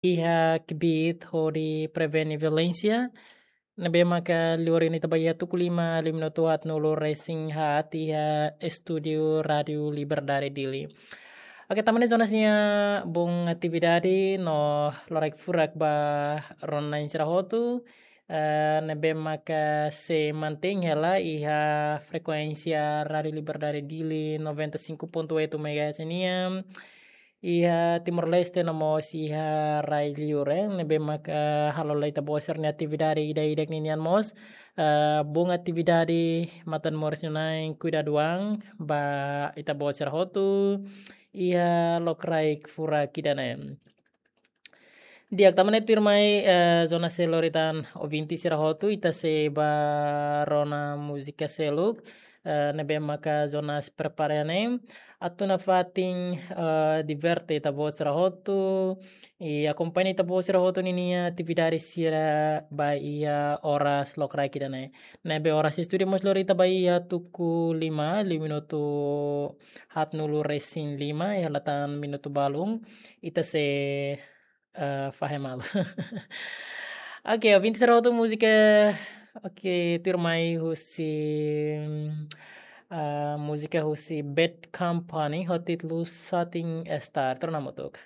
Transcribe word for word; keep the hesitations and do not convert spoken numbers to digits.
iha kbiit hodi prevene violénsia. Ne'ebé maka liu ohin ne'e ita ba iha tuku lima, liu minutu haatnulu resin haat iha estúdiu Rádiu Liberdade Dili. Oke, tanba ne'e Jonas nia boot atividade no loraik furak ba rona-na'in sira hotu. Eh, ne'ebé maka sei mantein hela iha frekuénsia Rádiu Liberdade Dili noventa e cinco ponto oito megahertz nian. Iha Timor-Leste no mós iha rai liur, eh, ne'ebé maka halo lai ita-boot sira-nia atividade ida-idak ninian mós. Eh, boot atividade matan moris na'in, kuidadu an ba ita-boot sira hotu iha lokraik furak ida-ne'e. Di'ak, tanba ne'e tuirmai, eh, Jonas sei lori tan ouvinte sira hotu, ita sei ba rona múzika seluk, eh, ne'ebé maka Jonas prepara ne'e. Atu nafatin, eh, diverte ita-boot sira hotu, i akompaña ita-boot sira hotu ninia atividade sira ba iha oras lokraik ida-ne'e. Ne'ebé oras estúdiu mós lori ita ba iha tuku lima, liu minutu haatnulu resin lima, iha latan minutu balun, ita sei, eh, fahe malu. Oke, ouvinte sira hotu, múzika, oke, tuirmai husi, eh, múzika husi Bad Company, ho títulu Shooting Star, torna hamutuk.